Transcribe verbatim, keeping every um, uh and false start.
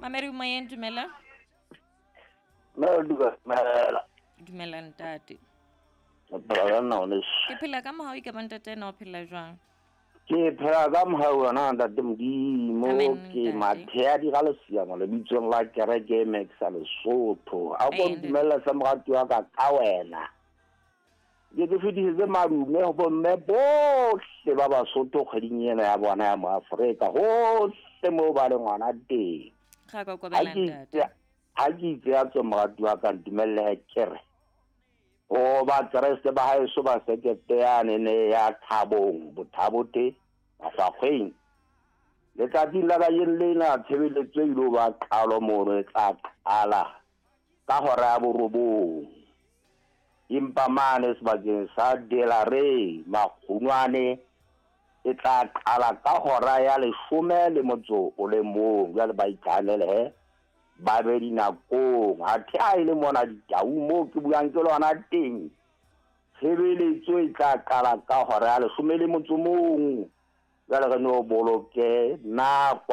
Mamedi moyeng, dumela. Dumela. Dumela ntate. O phela ka nna ngwaneso? Ke phela ka mohau, ke ba ntate na o phela jwang? Ke phela ka mohau wena ntate Modimo. Amen, Ke ntate. Mathea di ga lesiamo lebitsong la kereke e Max Lesotho. A ko Amen. ntumella sa morati wa ka ka wena. Ke ke fetisetse madume ho bomme bohle ba Basotho kgweding ena ya bona ya Moafrika hohle moo ba leng hona teng. Ga ka Ha kobela ke ntate. itse ha ke itse ya tswe morati wa ka ntumelle ke re ho Bakreste ba haeso ba sekete yane ne ya Thabong Bothabote Mahlakgweng. Letsatsing la kajeno lena tshebeletso e ilo ba qalo mono e tla qala ka hora ya borobong. Empa mane sebakeng sa Delare Makgunwane e tla qala ka hora ya leshome le motso o le mong. Jwale ba itlhanele he ba be dinakong. Athe ha e le mona Ditau moo ke buang ke lona teng, tshebeletso e tla qala ka hora ya leshome le motso mong. Jwale re no boloke nako.